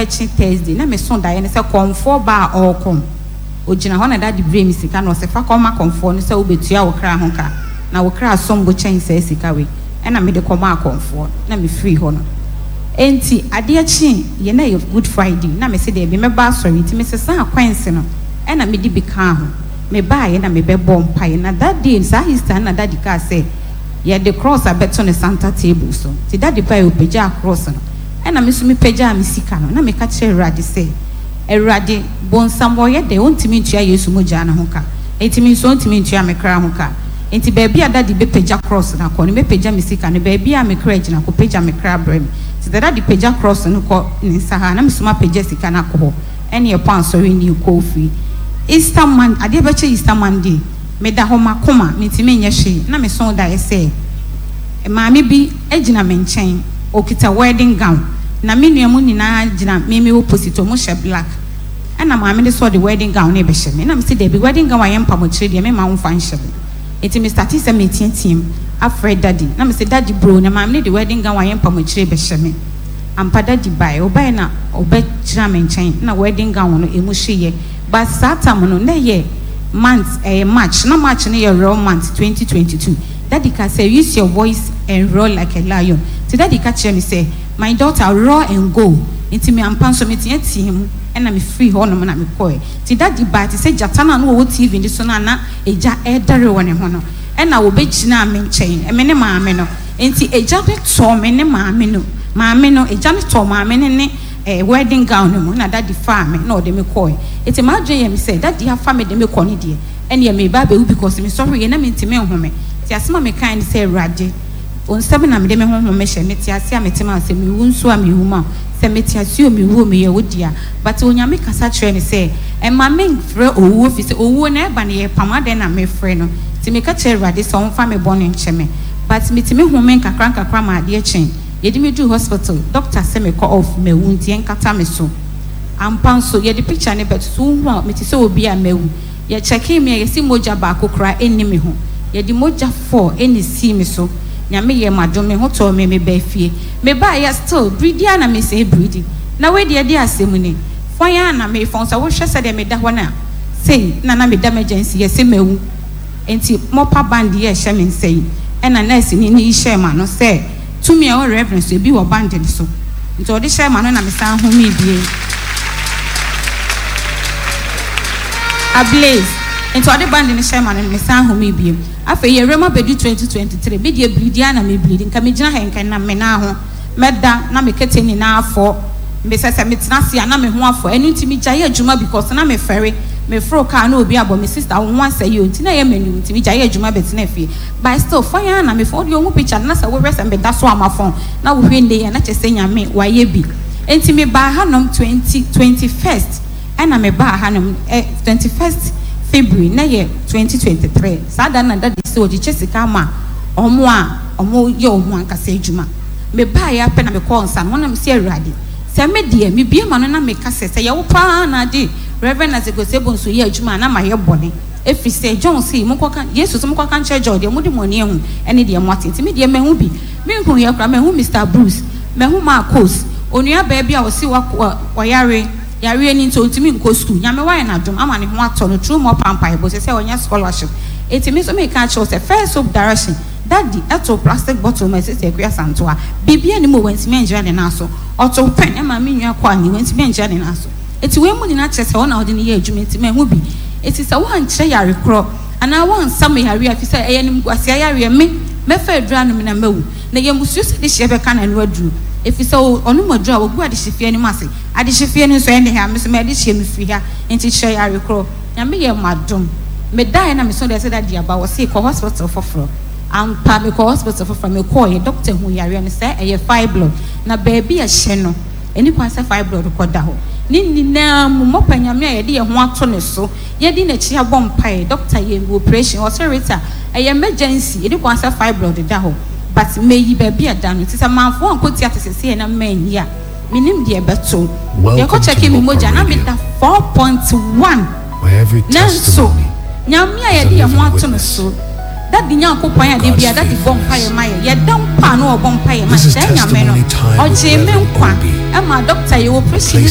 bɛkye Thursday na meso daeɛ no sɛ kɔmfoɔ baa a ɔrekɔm. Ɔgyina hɔ na daddy brɛɛ me sika na ɔse fa kɔma kɔmfoɔ no sɛ wobɛtua wo kra ho ka na wo kra som bo kyɛn saa sika wei. Ɛna mede kɔmaa kɔmfoɔ no na mefirii hɔ no. Enti adeɛ kyee yɛ na ɛyɛ Good Friday na mese daabi mɛba asɔre nti mesesaa coins no ɛna mede bi kaa ho. Mebaeɛ na mebɛbɔɔ mpaeɛ na that day saa Easter no na daddy kaa sɛ yɛde cross abɛto ne center table so. Nti daddy baeɛ ɔpagyaa cross no ɛna me nso mepagyaa me sika no na meka kyerɛɛ Awurade sɛ Awurade, bonsam ɔyɛ dɛn ɔntumi ntua Yesu mogyaa no ho ka, enti me nso ɔntumi ntua me kra ho ka. Enti baabi a daddy bɛpagya cross no akɔ no, mɛpagya me sika no, baabi a me kra gyina, kɔpagya me kra brɛ me. Nti sɛ daddy pagya cross no kɔ ne nsa ha a, na me nso mapagya sika no akɔ hɔ. Ɛne yɛkɔ asɔre ne yɛkɔ ofie. Easter Mon, adeɛ bɛkye Easter Monday, meda hɔ, m'akoma, mentumi nyɛ hwee, na mesoo daeɛ sɛ maame bi gyina me nkyɛn, ɔkita wedding gown, na me nua mu nyinaa gyina me me opposite, ɔmo hyɛ black, ɛna maame no sɛ ɔde wedding gown no rebɛhyɛ me, ɛna mese dabi, wedding gown a yɛmpam akyire deɛ memma wo mfa nhyɛ me. Nti me startee sɛ meteateam afrɛ daddy, na mese daddy bro, na maame no de wedding gown a yɛmpam akyire rebɛhyɛ me. Ampa daddy bae, ɔbae na ɔbɛgyina me nkyɛn, na wedding gown no emu hyeeɛ, but saa tam no na ɛyɛ month, ɛyɛ March, na March no yɛ real month 2022. Daddy ka sɛ use your voice and roar like a lion. Nti daddy ka kyerɛ me sɛ my daughter roar and go. Nti me ampa nso me teateaa mu ɛna me firi hɔ nom na me kɔɛ. Nti daddy baa te sɛ gyata no a na ɔwɔ TV no so no a na egya ɛredɛre wɔ ne ho no ɛna ɔbɛgyinaa me nkyɛn, me ne maame no. Nti egya no tɔɔ me ne maame no, maame no, egya no tɔɔ maame no ne eh, wedding gown no mu na daddy faa me na ɔde me kɔɛ. Nti m'adwene yɛ me sɛ daddy afa me de me kɔ no deɛ, ɛneɛ mereba abɛwu because mesɔreeɛ na mentumi nhome. Nti asɛm a mekaeɛ ne sɛ, Awurade, wo nsam na mede me honhom mehyɛ, mete ase a mete ma wo, sɛ mewu nso a mewu ma wo, sɛ mete ase o mewu o meyɛ wo dea. But Onyame kasa kyerɛɛ me sɛ mma menfrɛ owuo firi sɛ owuo no ɛba no yɛpam adɛn na mefrɛ no. Nti meka kyerɛɛ Awurade sɛ ɔmfa me bɔne nkyɛ me. But metumi home nkakra nkakra ma adeɛ kyee. Yɛde me duu hospital, doctor se mekɔ off, mawu nti ɛnkata me so. Ampa nso, yɛde picture no bɛto so, wohu a mete sɛ obi a mawu. Yɛ kyɛkee me a yɛse mogya baako koraa nni me ho. Yɛde mogya four na esii me so. Nyame yɛɛ m'adom me ho tɔɔ me me baa fie. Me baeɛ still bridi ara na me sɛɛ bridi. Na wei deɛ ɛdeɛ asɛm ni. Fɔn ara na me fɔn sɛ wo hwɛ sɛdeɛ me da hɔ no a sei na na me da emergency yɛse mawu. Nti mɔpa band yi a ɛhyɛ me nsa yi ɛna nurse ni no yi hyɛɛ m'ano sɛ tumi a ɛwɔ Reverend so ebi wɔ band no so. Nti ɔde hyɛɛ m'ano na me san homee bio. Ablaze. Nti ɔde band no hyɛɛ m'ano no me san homee bio. Afei yɛwura mu abɛdu 2023, me deɛ bleedi ara na me bleedi, nka me gyina ha yi nka ɛnam me nan ho, mɛda na me kɛtɛ nyinaa afɔ, me sɛ sɛ me tena ase a na me ho afɔ, ɛno nti me gyae adwuma because na me fɛre, me foro car na obi abɔ me sister wo ho asɛe o, nti na ɛyɛ m'aniwu nti me gyae adwuma bɛtenaa fie, but still fɔn ara na me fɔn, wodeɛ wohu picture no na sɛ wohwɛ sɛ me da so a mafɔn na wohwɛ nnɛ yi a na kyerɛ sɛ Nyame wayɛ bi, nti me baa hanom 20 21st. Ɛna me baa ha nom ɛ 21st February na yɛ 2023 saa da no na daddy sɛ ɔgyekyɛ sika ama ɔmo a ɔmo yɛ ɔmo ankasa adwuma me baa yɛ apɛ na me kɔɔ nsa no ho na me se Awurade sɛ me deɛ me bue m'ano na me ka sɛ sɛ yɛ wo paa na ade Rev Isaac Osei Bonsu yɛ adwuma a na ma yɛ bɔne ɛfiri sɛ John se monkɔ ka Yesu se monkɔ ka nkyerɛ John deɛ mode mo ani ahu ɛne deɛ moate nti me deɛ mahu bi me nhunuiɛ koraa mahu Mister Bruce mahu Marcos onua baa bi a ɔse wa ɔyare Yareɛ no nti ɔntumi nkɔ sukuu. Nyame wayɛ no adom ama ne ho atɔ no through mɔpa mpaebɔ sɛsɛ ɔnya scholarship. Enti me nso meka akyerɛ wo sɛ first hope direction daddy too plastic bottle maa sister Akua Asantewa. Biribiara nni mu o wantumi angyina ne nan so. Ɔtoo pen maa me nua Kwame wantumi angyina ne nan so. Enti wei mu nyinaa kyerɛ sɛ ɔna ɔde no yɛ adwuma enti mahu bi. Enti sɛ woankyerɛ yare korɔ anaa woansa me yareɛ a efisɛ ɛyɛ animguaseɛ yareɛ me mɛfa aduru anom na mawu. Na yɛmmusuo sɛ dehyeɛ bɛka n'ano aduru efisɛ ɔnom aduru a ɔgu adehyefie anim ase. Adehyefie no nso ɛnne ha, me nso m'adehyeɛ mefiri ha, nti kyerɛ yare korɔ. Nyame yɛ m'adom, medaeɛ na meso daeɛ sɛ daddy aba, wɔse kɔ hospital foforɔ. Ampa mekɔɔ hospital foforɔ, mekɔɔeɛ, doctor huu yareɛ no sɛ ɛyɛ fibroid, na baabi a ɛhyɛ no, ɛnni kwan sɛ fibroid kɔda hɔ. Ne nyinaa mu, mɔpa Nyame a yɛde yɛn ho ato ne so, yɛdi n'akyi abɔ mpaeɛ, doctor yɛɛ me operation, ɔse Rita, ɛyɛ emergency, ɛnni kwan sɛ fibroid da hɔ, but meyi baabi a ɛda no, nti sɛ mamfa ankɔ theatre seesei na manyi a, Mennim deɛ ɛbɛto. Welcome Yɛkɔ to kyɛkee me Mopar mogya na Radio, meda 4.1. where every Nanso testimony Nyame a is a yɛde yɛn ho living ato no witness so, Daddy Nyankopɔn a of da God's biara Daddy bɔ mpaeɛ faithfulness. ma yɛn, yɛda mpo a na ɔbɔ mpaeɛ ma This yɛn, is saa Nyame no, Testimony Time with ɔgyee me Reverend nkwa Obi, ma doctor yɛ a operation no place